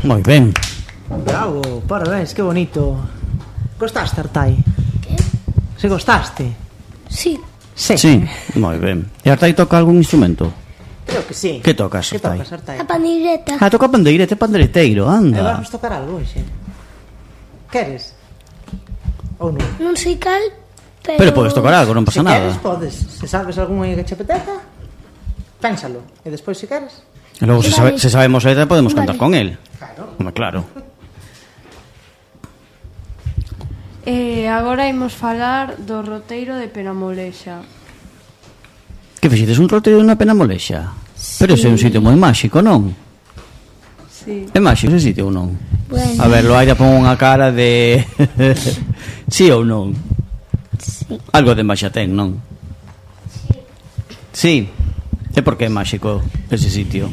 Moi ben. Bravo, parabéns, que bonito. Gostaste, Artai? Que? Se gostaste? Sí. Sí, moi ben. E Artai toca algún instrumento? Creo que sí. Que tocas, Que Artai? tocas, Artai? A pandeireta. Ah, toca pandeirete, pandereteiro, E anda. vamos tocar algo hoxe. Queres? Ou non? Non sei cal, Pero podes tocar algo, non pasa Se nada. queres, podes. Se sabes algún aí que che apeteza, pénsalo. E despois, se queres... E logo, se sabemos a letra, podemos cantar con el. Claro. Home, claro. Agora imos falar do roteiro de Penamolexa. Que fixites un roteiro na Penamolexa? Pero ese é un sitio moi máxico, non? Sí. É máxico ese sitio ou non? Bueno. A ver, Loaira pon unha cara de... sí ou non? Sí. Algo de máxa ten, non? Sí. E por que é máxico ese sitio?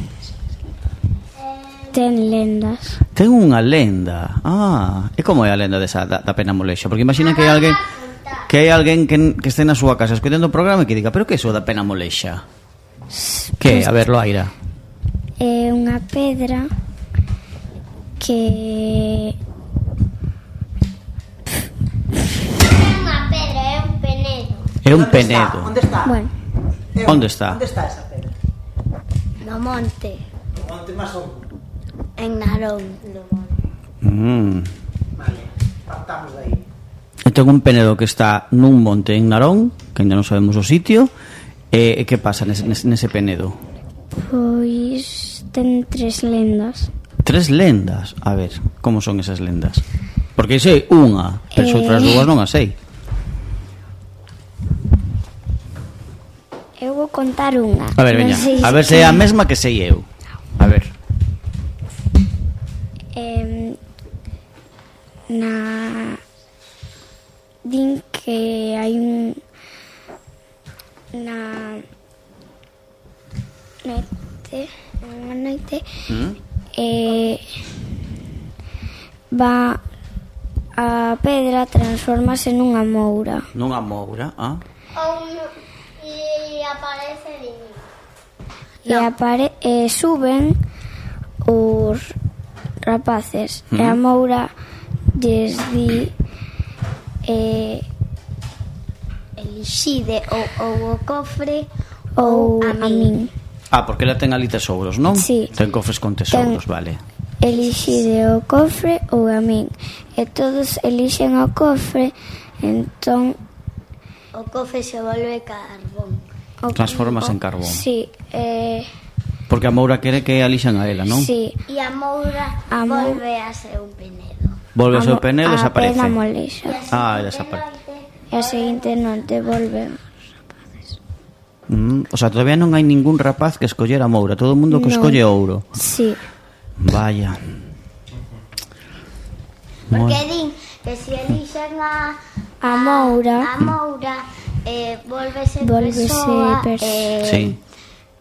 Ten lendas. Ten unha lenda. Ah, e como é a lenda desa da Penamolexa? Porque imagina que hai alguén que este na súa casa escoitando o programa e que diga, pero que é iso da Penamolexa? Que? A ver, Loaira. É unha pedra que... Unha pedra, é un penedo. É un Onde penedo. Onde está? Bueno, Onde está? Onde está esa pedra? No monte, Onde máis son? en Narón. Vale, partamos de aí. Eu tengo un penedo que está nun monte en Narón, que ainda non sabemos o sitio. E que pasa nese penedo? pois ten 3 lendas. 3 lendas. A ver, como son esas lendas? Porque sei unha, pero as outras dúas non as sei. Eu vou contar unha. A ver, veña, a ver se é a mesma que sei eu. A ver. Din que hai unha noite va a pedra transformase nunha moura. Nunha moura, ah? E aparece niño. E suben os rapaces e a moura lles di Elixide ou o cofre ou a min. Ah, porque ela ten ali tesouros, non? Sí. Ten cofres con tesouros, vale. Elixide o cofre ou a min. E todos elixen o cofre, entón o cofre se volve carbón. Transformas en carbón. Sí, Porque a moura quere que alixan a ela, non? sí. E a moura volve a ser un penedo. Volve ao seu penedo e desaparece. A Penamolexa. Ah, desaparece. E a seguinte noite volve. O sea, todavía non hai ningún rapaz que escoller a moura. Todo o mundo que escolle ouro. Sí. Vaya. Porque din que se elixen a moura, volvese persoa, sí.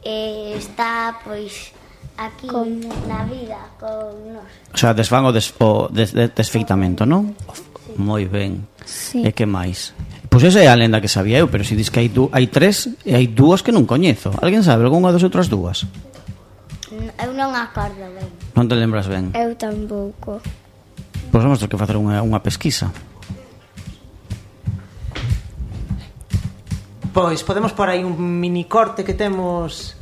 Está, pois, aquí na vida con nós. O sea, desfan o desfeitamento, non? Sí. Moi ben. Sí. E que máis? Pois esa é a lenda que sabía eu, pero se dis que hai 3 e hai 2 que non coñezo. Alguén sabe algunha das outras 2? Eu non acordo ben. Non te lembras ben? Eu tampouco. Pois vamos ter que facer unha pesquisa. Pois podemos por aí un mini corte que temos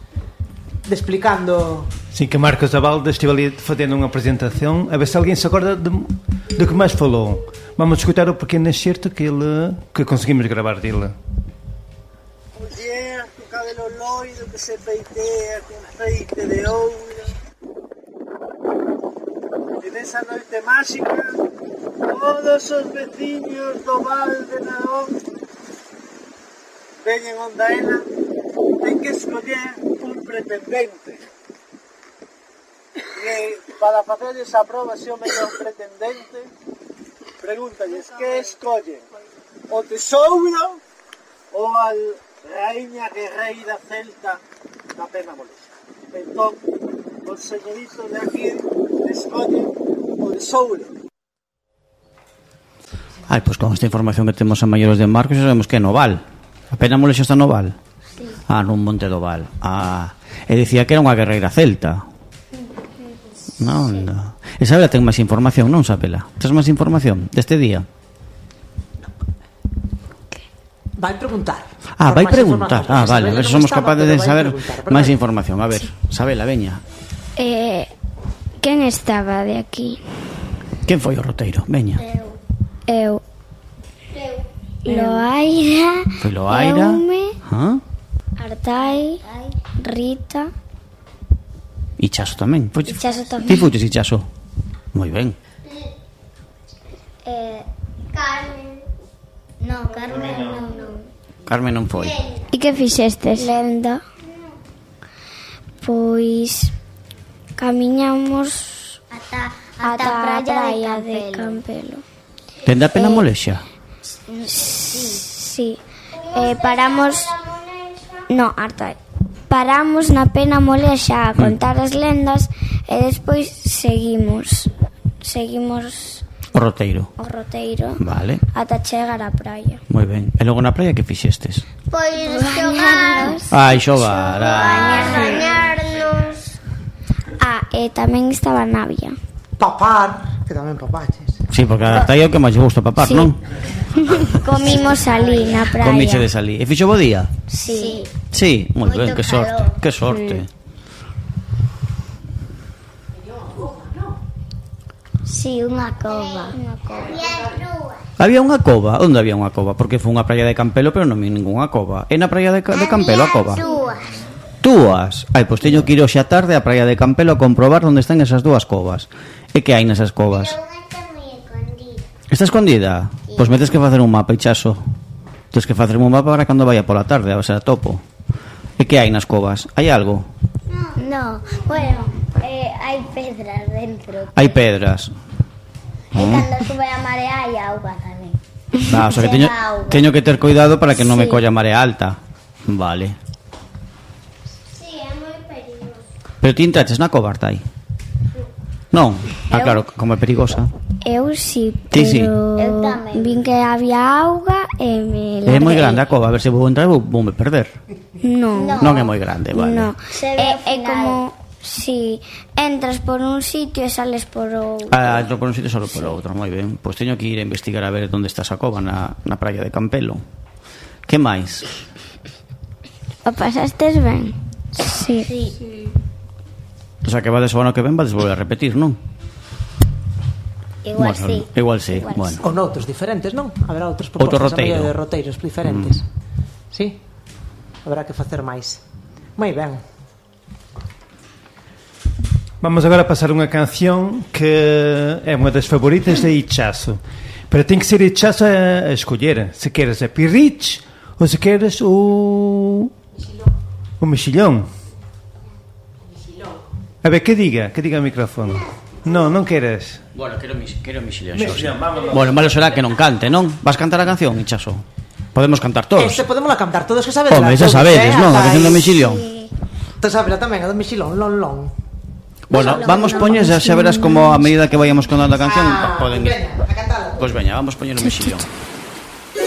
de explicando. Sim, que Marcos Abalda estive ali fazendo unha presentación, a ver se alguén se acorda do que máis falou. Vamos escutar o pequeno excerto que conseguimos gravar dele. Muller co cabelo loiro que se peitea con feite de ouro. E nesa noite máxica todos os veciños do Val de Narón veñen onda ela, ten que escoller un pretendente. E para facer esa proba se o mellor pretendente, pregúntalles que escollen, o tesouro ou a raíña guerreira celta da Penamolexa. Entón, os señoritos de aquí escollen o tesouro. Ai, pois con esta información que temos a maiores de Marcos xa sabemos que é no Val. A Penamolexa está no Val? Sí. Ah, nun monte do Val. Ah, e dicía que era unha guerreira celta. Non, sí. Isabela ten máis información, non, Isabela? Tes máis información deste día? Vai preguntar. Vai Por máis preguntar. información, Vale, a Isabela ver se non somos estaba, capaces pero de vai saber preguntar, máis verdad? información. A ver, Isabela, veña. Quen estaba de aquí? Quen foi o roteiro? Veña. Eu. Loaira. Foi Loaira. Eume. Ah? Rita. Ichaso tamén. Ichaso tamén. Ti fuches Ichaso? Moi ben. Carmen. No, Carmen non. Carmen non foi. E que fixestes? Lenda. Pois camiñamos ata a praia de Campelo. Dende a Penamolexa? Sí. Paramos... No, harta. Paramos na Penamolexa a contar as lendas e despois seguimos O roteiro. o roteiro Vale. ata chegar á praia. Moi ben. E logo na praia que fixestes? Pois xogar. Ai, xogar. Bañarnos. E tamén estaba Navia. Papar, que tamén papaches. Sí, porque a praia é o que máis gusta papar, Sí. non? Comimos ali na praia. Comiche de salí. E fixo bo día? Sí. Sí, moi ben, Moito que sorte. calor. Que sorte. Sí, unha cova. E as rúas. Había unha cova? Onde había unha cova? Porque foi unha praia de Campelo, pero non vi ningunha cova. É na praia de Campelo a cova? Túas. Ai, pois teño que ir hoxe a tarde á praia de Campelo a comprobar onde están esas dúas covas. E que hai nesas covas? Pero unha está moi escondida. Está escondida? Pois me tes que facer un mapa, Ichaso. Tens que facer un mapa para cando vaya pola tarde, a ver se a topo. E que hai nas covas? Hai algo? No, bueno, hai pedras dentro. Hai pedras. E cando sube a marea hai auga tamén. O sea que teño que ter cuidado para que non me colla marea alta. Vale. Sí, é moi perigoso. Pero ti entraches na cova, Artai? Non? Claro, como é perigosa. Eu sí, Ti sí. pero vin que había auga e me É moi larguei. grande a cova, a ver se vou entrar e vou me perder. Non. Non é moi grande, vale. No. É como si entras por un sitio e sales por outro. Entro por un sitio solo por outro, moi ben. Pois teño que ir a investigar a ver onde está esa cova na praia de Campelo. Que máis? O pasastes ben? Sí. O sea que vades o ano que ven, vades volver a repetir, non? Igual Bueno, sí. Igual sí, bueno. Ou noutros diferentes, non? Haberá outros Outro propostas roteiro. de roteiros diferentes. Sí? Haberá que facer máis. Moi ben. Vamos agora a pasar unha canción que é unha das favoritas de Ichaso. Pero ten que ser Ichaso a escoller. Se queres a Pirrich ou se queres o Mexillón. A ver, que diga o micrófono. Non queres. Bueno, quero Mexillón. Vamos. Bueno, malo será que non cante, non? Vas cantar a canción, Ichaso? Podemos cantar todos. Este podemos cantar todos que sabedes. Home, xa sabedes, non? A canción do Mexillón. Te sabes tamén, a do Mexilón, lon lon. Bueno, vamos poñer, xa verás como a medida que vayamos contando a canción poden ir. Veña, a cantala. Pois veña, vamos poñer o Mexillón.